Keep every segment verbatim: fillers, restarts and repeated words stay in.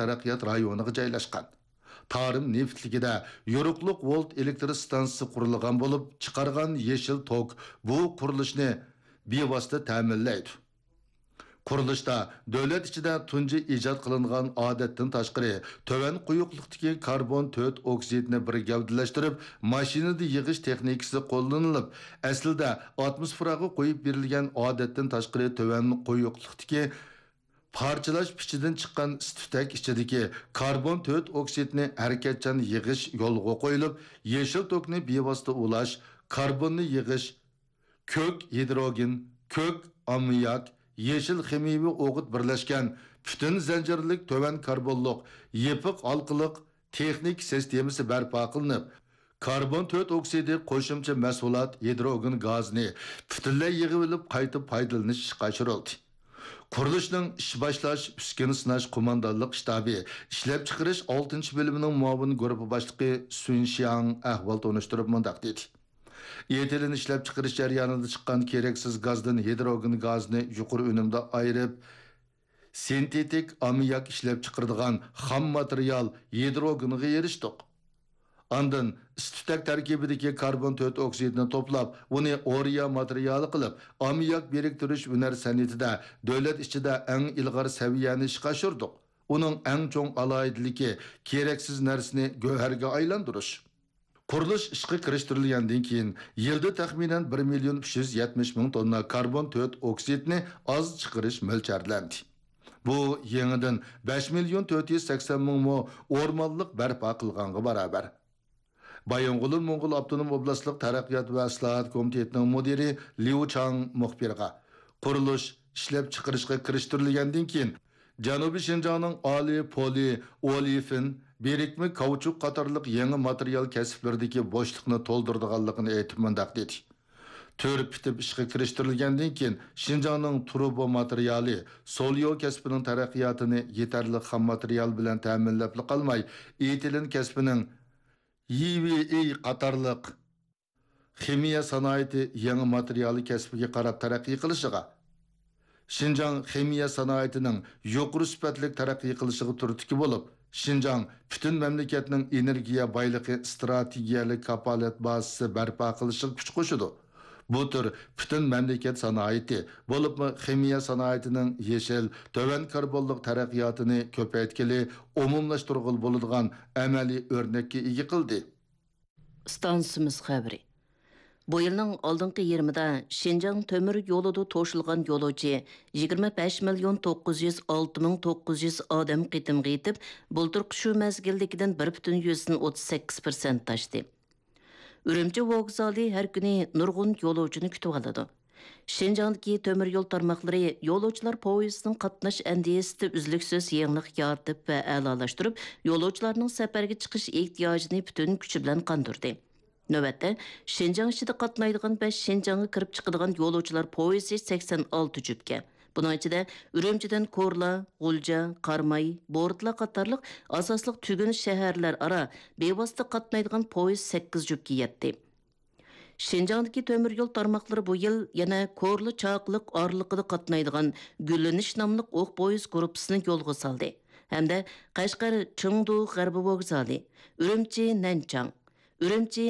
تەرەققىيات رايونىغا جايلاشقان. تارىم نېفىتلىكىدە يورۇقلۇق ۋولت ئېلېكتر ئىستانسىسى قۇرۇلغان بولۇپ، چىقارغان يېشىل توك بۇ قۇرۇلۇشنى بىۋاسىتە تەمىنلەيدۇ. قۇرۇلۇشتا دۆلەت ئىچىدە تۇنجى ئىجاد قىلىنغان ئادەتتىن تاشقىرى تۆۋەن قويۇقلۇقتىكى كاربون تۆت ئوكسىدنى بىر گەۋدىلەشتۈرۈپ، ماشىنىدا يىغىش تېخنىكىسى قوللىنىلىپ، ئەسلىدە ئاتموسفېراغا قويۇپ بېرىلگەن ئادەتتىن تاشقىرى تۆۋەن قويۇقلۇقتىكى پارچىلاش پىچىدىن چىققان ئىس-تۈتەك ئىچىدىكى كاربون تۆت ئوكسىدنى ھەرىكەتچان يىغىش يولغا قويۇلۇپ، يېشىل توكنى بىۋاسىتە ئۇلاش، كاربوننى يىغىش، كۆك ھىدروگېن، كۆك ئاممىياك، يېشىل خىمىيەۋى ئوغۇت بىرلەشكەن پۈتۈن زەنجىرلىك تۆۋەن كاربونلۇق يېپىق ھالقىلىق تېخنىكا سىستېمىسى بەرپا قىلىنىپ، كاربون تۆت ئوكسىدى قوشۇمچە مەھسۇلات ھىدروگېن گازىنى پۈتۈنلەي يىغىۋېلىپ قايتا پايدىلىنىش ئىشقا ئاشۇرۇلدى. قۇرۇلۇشنىڭ ئىش باشلاش، ئۈسكۈنە سىناش قوماندانلىق شتابى ئىشلەپچىقىرىش ئالتىنچى بۆلۈمىنىڭ مۇئاۋىن گۇرۇپپا باشلىقى سۈن شياڭ ئەھۋال تونۇشتۇرۇپ مۇنداق دېدى. ئېتىلېن ئىشلەپچىقىرىش جەريانىدا چىققان كېرەكسىز گازدىن ھىدروگېن گازىنى يۇقىرى ئۈنۈمدە ئايرىپ، سىنتېتىك ئاممىياك ئىشلەپچىقىرىدىغان خام ماتېرىيال ھىدروگېنغا ئېرىشتۇق. ئاندىن ئىس-تۈتەك تەركىبىدىكى كاربون تۆت ئوكسىدنى توپلاپ، ئۇنى ئورىيا ماتېرىيالى قىلىپ، ئاممىياك بىرىكتۈرۈش ھۈنەر سەنئىتىدە دۆلەت ئىچىدە ئەڭ ئىلغار سەۋىيەنى ئىشقا ئاشۇردۇق. ئۇنىڭ ئەڭ چوڭ ئالاھىدىلىكى كېرەكسىز نەرسىنى گۆھەرگە ئايلاندۇرۇش. قۇرۇلۇش ئىشقا كىرىشتۈرۈلگەندىن كېيىن، يىلدا تەخمىنەن بىر مىليون ئۈچ يۈز يەتمىش مىڭ توننا كاربون تۆت ئوكسىدنى ئاز چىقىرىش مۆلچەرلەندى. بۇ يېڭىدىن بەش مىليون تۆت يۈز سەكسەن مىڭ مو ئورمانلىق بەرپا قىلغانغا باراۋەر. بايىنغولىن موڭغۇل ئاپتونوم ئوبلاستلىق تەرەققىيات ۋە ئىسلاھات كومىتېتىنىڭ مۇدىرى ليۇ چاڭ مۇخبىرغا، قۇرۇلۇش ئىشلەپچىقىرىشقا كىرىشتۈرۈلگەندىن كېيىن، جەنۇبىي شىنجاڭنىڭ ئالى پولى ئولېفىن، بىرىكمە كاۋچۇك قاتارلىق يېڭى ماتېرىيال كەسىپلىرىدىكى بوشلۇقنى تولدۇرىدىغانلىقىنى ئېيتىپ مۇنداق دېدى: تۈر پۈتۈپ ئىشقا كىرىشتۈرۈلگەندىن كېيىن، شىنجاڭنىڭ تۇرۇبا ماتېرىيالى، سوليو كەسپىنىڭ تەرەققىياتىنى يېتەرلىك خام ماتېرىيال بىلەن تەمىنلەپلا قالماي، ئېتىلېن كەسپىنىڭ يىۋېئېي قاتارلىق خىمىيە سانائىتى يېڭى ماتېرىيالى كەسپىگە قاراپ تەرەققىي قىلىشىغا، شىنجاڭ خىمىيە سانائىتىنىڭ يۇقىرى سۈپەتلىك تەرەققىي قىلىشىغا تۈرتكە بولۇپ، شىنجاڭ پۈتۈن مەملىكەتنىڭ ئېنېرگىيە بايلىقى ئىستراتېگىيەلىك كاپالەت بازىسى بەرپا قىلىشىغا كۈچ قوشىدۇ. بۇ تۈر پۈتۈن مەملىكەت سانائىتى، بولۇپمۇ خىمىيە سانائىتىنىڭ يېشىل، تۆۋەن كاربونلۇق تەرەققىياتىنى كۆپەيتكىلى، ئومۇملاشتۇرغىلى بولىدىغان ئەمەلىي ئۆرنەككە ئىگە قىلدى. ئىستانسىمىز خەۋىرى. بۇ يىلنىڭ ئالدىنقى يېرىمىدا شىنجاڭ تۆمۈر يولىدا توشۇلغان يولۇچى يىگىرمە بەش مىليون توققۇز يۈز ئالتە مىڭ توققۇز يۈز ئادەم قېتىمغا يېتىپ، بۇلتۇرقى شۇ مەزگىلدىكىدىن بىر پۈتۈن يۈزدىن ئوتتۇز سەككىز پىرسەنت ئاشتى. ئۈرۈمچى ۋوگزالى ھەر كۈنى نۇرغۇن يولۇچىنى كۈتۈۋالىدۇ. شىنجاڭدىكى تۆمۈر يول تارماقلىرى يولۇچىلار پويىزىنىڭ قاتناش ئەندىزىسىدە ئۈزلۈكسىز يېڭىلىق يارىتىپ ۋە ئەلالاشتۇرۇپ، يولۇچىلارنىڭ سەپەرگە چىقىش ئېھتىياجىنى پۈتۈن كۈچى بىلەن قاندۇردى. نۆۋەتتە، شىنجاڭ ئىچىدە قاتنايدىغان ۋە شىنجاڭغا كىرىپ چىقىدىغان يولۇچىلار پويىزى سەكسەن ئالتە جۈپكە، بۇنىڭ ئىچىدە ئۈرۈمچىدىن كورلا، غۇلجا، قاراماي، بورتلا قاتارلىق ئاساسلىق تۈگۈن شەھەرلەر ئارا بىۋاسىتە قاتنايدىغان پويىز سەككىز جۈپكە يەتتى. شىنجاڭدىكى تۆمۈر يول تارماقلىرى بۇ يىل يەنە كورلا چاقىلىق ئارىلىقىدا قاتنايدىغان گۈللىنىش ناملىق ئوق پويىز گۇرۇپپىسىنى يولغا سالدى ھەمدە قەشقەر چېڭدۇ غەربىي ۋوگزالى، ئۈرۈمچى نەنچاڭ، ئۈرۈمچى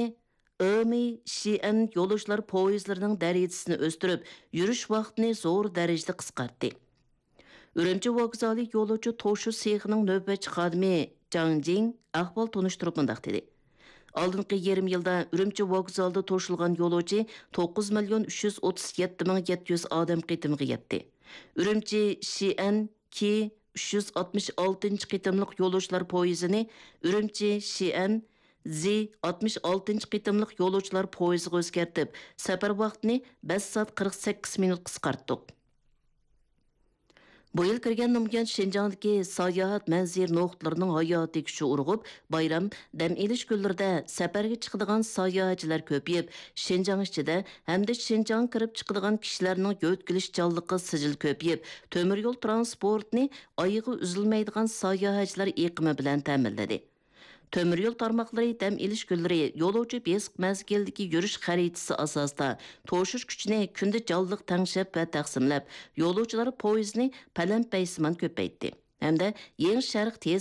ئېمى شىئەن يولۇچىلار پويىزلىرىنىڭ دەرىجىسىنى ئۆستۈرۈپ، يۈرۈش ۋاقتىنى زور دەرىجىدە قىسقارتتى. ئۈرۈمچى ۋوگزالى يولۇچى توشۇ سېخىنىڭ نۆۋەتچى خادىمى جاڭ جىڭ ئەھۋال تونۇشتۇرۇپ مۇنداق دېدى: ئالدىنقى يېرىم يىلدا ئۈرۈمچى ۋوگزالىدا توشۇلغان يولۇچى توققۇز مىليون ئۈچ يۈز ئوتتۇز يەتتە مىڭ يەتتە يۈز ئادەم قېتىمغا يەتتى. ئۈرۈمچى شىئەن كى ئۈچ يۈز ئاتمىش ئالتىنچى قېتىملىق يولۇچىلار پويىزىنى ئۈرۈمچى شىئەن زى ئاتمىش ئالتىنچى قېتىملىق يولۇچىلار پويىزىغا ئۆزگەرتىپ، سەپەر ۋاقتىنى بەش سائەت قىرىق سەككىز مىنۇت قىسقارتتۇق. بۇ يىل كىرگەن نومۇيان شىنجاڭدىكى ساياھەت مەنزىرە نۇقتىلىرىنىڭ ھاياتىي كۈچى ئۇرغۇپ، بايرام، دەم ئېلىش كۈنلىرىدە سەپەرگە چىقىدىغان ساياھەتچىلەر كۆپىيىپ، شىنجاڭ ئىچىدە ھەمدە شىنجاڭغا كىرىپ چىقىدىغان كىشىلەرنىڭ يۆتكىلىشچانلىقى سىجىل كۆپىيىپ، تۆمۈر يول ترانسپورتىنى ئايىغى ئۈزۈلمەيدىغان ساياھەتچىلەر ئېقىمى بىلەن تەمىنلىدى. تۆمۈر يول تارماقلىرى دەم ئېلىش كۈنلىرى يولۇچى بېسىق مەزگىلدىكى يۈرۈش خەرىتىسى ئاساسىدا توشۇش كۈچىنى كۈندە جانلىق تەڭشەپ ۋە تەقسىملەپ، يولۇچىلار پويىزىنى پەلەمپەيسىمان كۆپەيتتى ھەمدە يېڭى شەرق تېز